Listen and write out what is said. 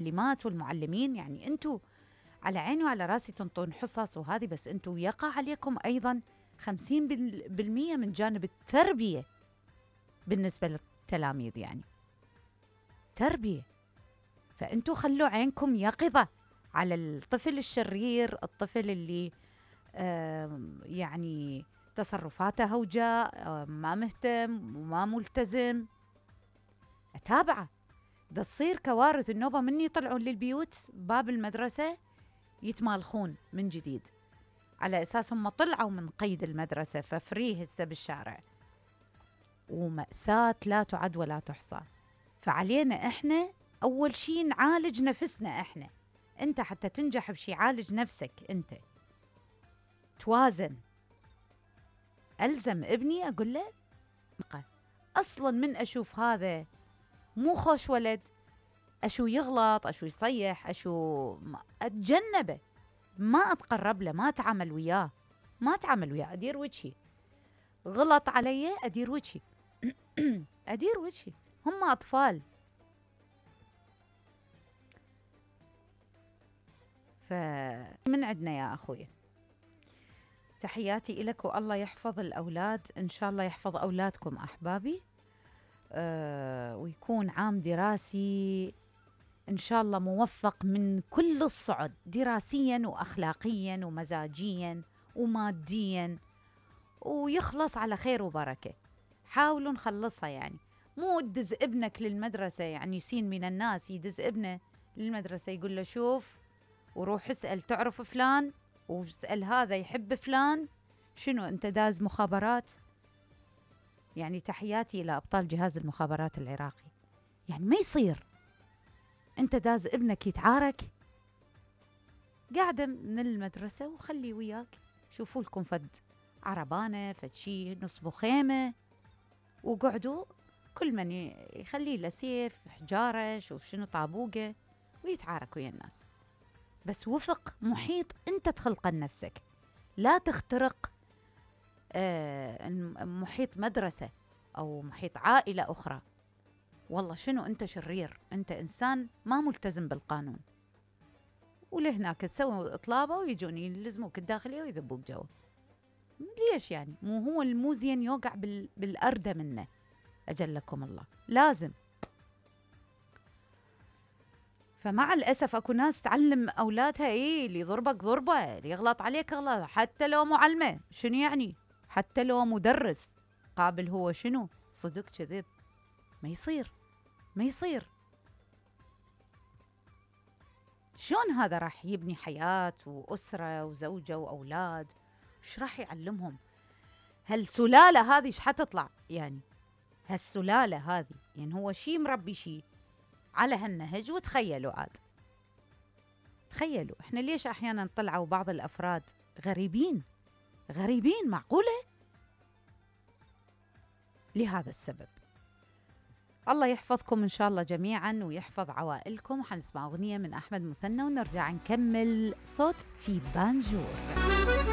المعلمات والمعلمين، يعني أنتوا على عيني وعلى راسي تنطون حصص وهذه، بس أنتوا يقع عليكم أيضا 50% من جانب التربية بالنسبة للتلاميذ، يعني تربية. فأنتوا خلوا عينكم يقظة على الطفل الشرير، الطفل اللي يعني تصرفاته هوجاء، ما مهتم وما ملتزم. أتابعه. ده تصير كوارث النوبة من يطلعون للبيوت باب المدرسة يتمالخون من جديد، على أساس هم طلعوا من قيد المدرسة ففريه هسه بالشارع، ومأساة لا تعد ولا تحصى. فعلينا إحنا أول شي نعالج نفسنا إحنا. أنت حتى تنجح بشي عالج نفسك أنت، توازن. ألزم ابني أقول له أصلاً من أشوف هذا مو خوش ولد، أشو يغلط، أشو يصيح، أشو أتجنبه، ما أتقرب له، ما أتعامل وياه، أدير وجهي. غلط علي أدير وجهي أدير وجهي، هم أطفال. فمن عندنا يا أخوي. تحياتي إلك، والله يحفظ الأولاد، إن شاء الله يحفظ أولادكم أحبابي، ويكون عام دراسي إن شاء الله موفق من كل الصعد، دراسياً وأخلاقياً ومزاجياً ومادياً، ويخلص على خير وبركة. حاولوا نخلصها، يعني مو تدز ابنك للمدرسة، يعني يسين من الناس يدز ابنه للمدرسة يقول له شوف وروح اسأل تعرف فلان، واسأل هذا يحب فلان، شنو أنت داز مخابرات؟ يعني تحياتي إلى أبطال جهاز المخابرات العراقي. يعني ما يصير أنت داز ابنك يتعارك، قاعدة من المدرسة وخلي وياك، شوفوا لكم فد عربانة، فد شي، نصبوا خيمة وقعدوا، كل من يخلي له سيف، حجارة، شوف شنو، طابوقة، ويتعارك ويا الناس. بس وفق محيط أنت تخلقه لنفسك، لا تخترق محيط مدرسة أو محيط عائلة أخرى. والله شنو أنت شرير، أنت إنسان ما ملتزم بالقانون، ولهناك تسوي إطلابة ويجون يلزموك الداخلية ويذبوك جوا. ليش يعني؟ مو هو الموزين يوقع بالأردة منه، أجلكم الله. لازم. فمع الأسف أكو ناس تعلم أولادها اللي يضربك ضربة، اللي يغلط عليك غلط، حتى لو معلمة، شنو يعني؟ حتى لو مدرس قابل، هو شنو؟ صدق كذب؟ ما يصير، ما يصير. شلون هذا راح يبني حياة وأسرة وزوجة وأولاد؟ وش راح يعلمهم؟ هالسلالة هذه ايش حتطلع؟ يعني هالسلالة هذه، يعني هو شي مربي شي على هالنهج. وتخيلوا عاد، تخيلوا احنا ليش احيانا طلعوا بعض الافراد غريبين، معقولة؟ لهذا السبب. الله يحفظكم إن شاء الله جميعاً ويحفظ عوائلكم. حنسمع أغنية من أحمد مثنى ونرجع نكمل صوت في بانجور.